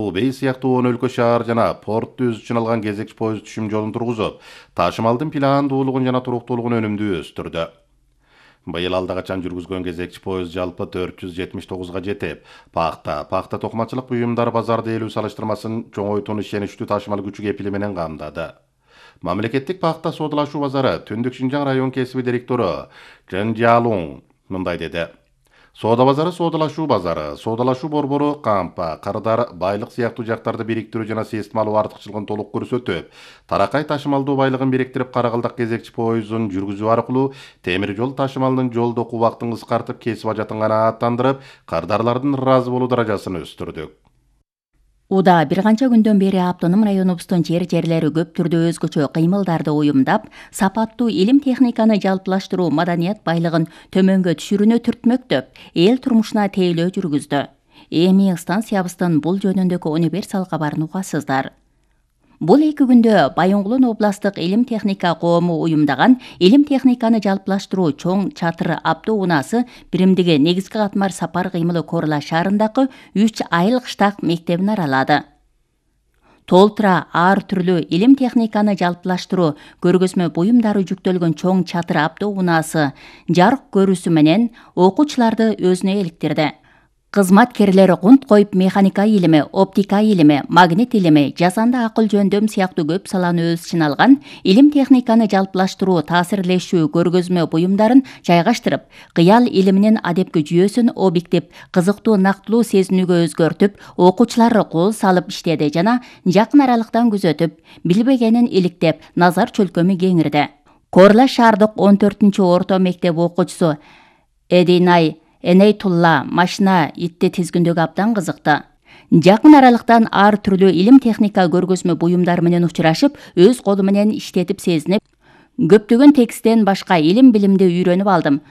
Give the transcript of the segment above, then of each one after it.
Убей сыяктуу 10 өлкө шаар жана портты өз үчүн алган кезекчи поезд түшүм жолун тургузуп, ташымалдын пландуулугун жана туруктуулугун өнүмдүү өстүрдү. Быйыл алда качан жүргүзгөн кезекчи поезд жалпы 479га жетип, пахта токмачылык буюмдары базарды элүү салыштырмасын чоңойтууну ишеничтүү ташымал күчү кепили менен камдады. Мамлекеттик пахта соодалашуу базары Түндүк Шинжаң район кесиби директору Чен Жалун мындай деди. Соода базары соодалашуу борбору кампа, карыдар, байлык сыяктуу жактарды бириктирүү жана системалуу артыкчылыгын толук көрсөтүп, таракай ташымалдуу байлыгын бириктирип Каракалдак кезекчи поездун жүргүзүү аркылуу темир жол ташымалынын жолдоку убактын кыскартып, кесип ажатын канааттандырып, кардарлардын ыраазы болуу даражасын өстүрдүк. Уда бир канча күндөн бери автоном районубуздун жерлери көп түрдө өзгөчө кыймылдарды уюмдап, сапаттуу илим техниканы жалпылаштыруу маданият байлыгын төмөнгө түшүрүүнү түртмөктөп, эл турмушуна тейлөө жүргүздү. Эми станциябыздын бул жөнүндөгү универсал кабарын угасыздар. Бул 2 күндө Байоңгулун областтык илим техника коому уюмдаган илим техниканы жалпылаштыруу чоң чатыр автоунаасы биримдиги негизги катмар сапар кыймылы Корла шаарындагы 3 айыл кыштак мектебин аралады. Толтура ар түрлүү илим техниканы жалпылаштыруу көргөзмө буюмдары жүктөлгөн чоң чатыр автоунаасы жарык көрүүсү менен окуучуларды өзүнө иликтирди. Кызматкерлер кунт коюп механика илими, оптика илими, магнит илими, жасанды акыл жөндөм сыяктуу көп саланы өз ичине алган илим техниканы жалпылаштыруу таасирлешүү көргөзмө буюмдарын жайгаштырып, кыял илиминин адепки жүйөсүн объектив, кызыктуу нактылуу сезинүүгө өзгөртүп, окуучулар кол салып иштеди жана жакын аралыктан күзөтүп, билбегенин иликтеп, назар чөлкөмү кеңирди. Корла шаардык 14-орто мектеп окуучусу Эдинай Энейтулла машина итти тизгиндөгү абдан кызыкты. Жакын аралыктан ар түрлүү илим техника көргөзмө буюмдары менен учурашып, өз колу менен иштетип сезинип, көптөгөн тексттен башка илим билимди үйрөнүп алдым.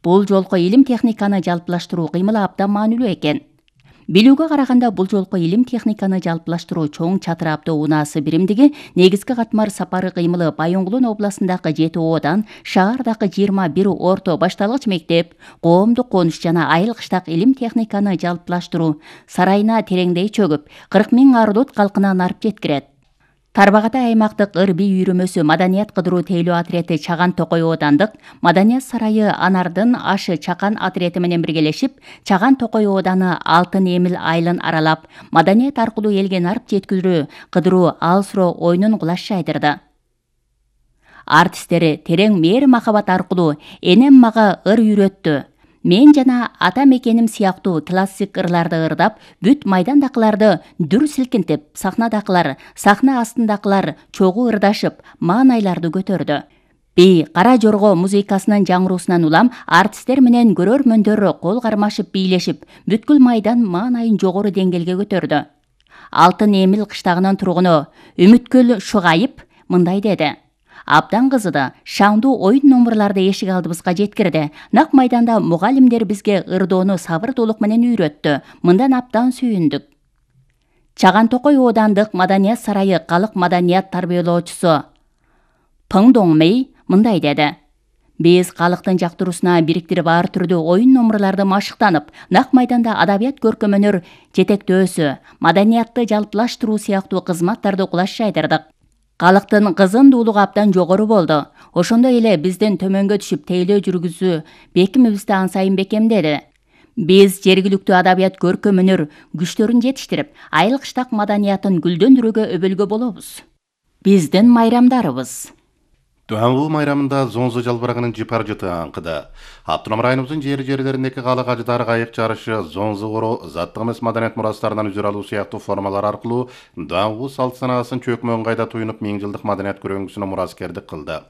Бул жолку илим техниканы жалпылаштыруу кыймылы абдан маанилүү экен. Билүүгө караганда бул жолку илим техниканы жалпылаштыруу чоң чатыр автоунаасы биримдиги негизги катмар сапары кыймылы Байоңгулун областындагы 7 оодан, шаардагы 21 орто башталгыч мектеп, коомдук конуш жана айыл кыштак илим техниканы жалпылаштыруу сарайына тереңдей чөгүп, 40 000 ардут калкына нарып жеткирет. Тарбагатай аймактык ыр-би үйрөмөсү маданият кыдыруу тейлөө отирети Чаган Токой оодандык Маданият сарайы Анардын ашы Чакан отирети менен биргелешип, Чаган Токой ооданы Алтын Эмил айылын аралап, маданият аркылуу элге нарып жеткирүү кыдыруу алсыроо оюнун кулаш жайдырды. Артисттери терең мээр махабат аркылуу энем мага ыр үйрөттү. Мен жана ата мекеним сыяктуу классик ырларды ырдап, бүт майдандакыларды дүр силкинтип, сахнадакылар, сахна астындакылар чогуу ырдашып, маанайларды көтөрдү. Би Кара Жорго музыкасынын жаңыруусунан улам артисттер менен көрөрмөндөр кол кармашып бийлешип, бүткүл майдан маанайын жогору деңгээлге көтөрдү. Алтын Эмил кыштагынын тургуну Үмүткүл Шугайып мындай деди. Абдан кызыды, шаңдуу оюн номурларды эшик алдыбызга жеткирди. Нак майданда мугалимдер бизге ырдоону сабырдуулук менен үйрөттү. Мындан абдан сүйүндүк. Чаган Токой оодандык Маданият сарайы калык маданият тарбиялоочусу Пың Доңмей мындай деди. Биз калыктын жактыруусуна бириктирип ар түрдүү оюн номурларды машыктанып, нак майданда адабият көркөмөнөр жетектөөсү, маданиятты жалпылаштыруу сыяктуу кызматтарды кулаш жайдырдык. Калыктын кызындуулугу абдан жогору болду. Ошондой эле биздин төмөнгө түшүп тейлөө жүргүзүү бекимибизди ансайын бекемдеди. Биз жергиликтүү адабият көркөмөнөр күчтөрүн жетиштирип, айыл кыштак маданиятын гүлдөндүрүүгө өбөлгө болобуз. Биздин майрамдарыбыз. Дуаңгуу майрамында Зонзо жалбырагынын жыпар жыты аңкыды. Автоном районубуздун жерлериндеки калык ажыдар кайык жарышы, зонзо коро, заттык эмес маданият мурастарынан үзүр алуу сыяктуу формалар аркылуу дуаңгуу салт санаасын чөкмө ыңгайда туюнуп 1000 жылдык маданият көрөңгүсүнө мураскердик кылды.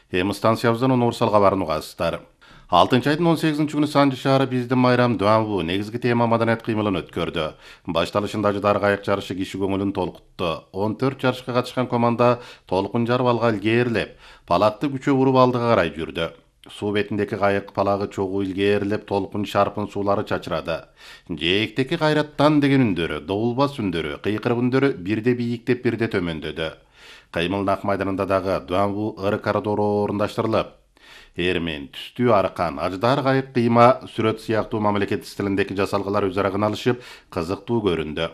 Эми станциябыздан универсал кабарын угасыздар. 6-айдын 18-күнү Санжы шаары биздин майрам дуаңгуу негизги тема маданият кыймылын өткөрдү. Башталышында ажыдар кайык жарышы киши көңүлүн толкутту. 14 жарышка катышкан команда толкун жарып алга илгээрлеп, палакты күчө уруп алдыга карай жүрдү. Суу бетиндеки кайык палагы чогуу илгээрлеп, толкун шарпын суулары чачырады. Жээктеки кайраттан деген үндөрү, добулбас үндөрү, кыйкырык үндөрү бирде бийиктеп, бирде төмөндөдү. Кыймыл нак майданында дагы дуаңгуу ыры коридору орундаштырылып, эрмен, түстүү аркан, аждар кайык кыйма, сүрөт сыяктуу мамлекет стилиндеги жасалгалар өзара кыналышып, кызыктуу көрүндү.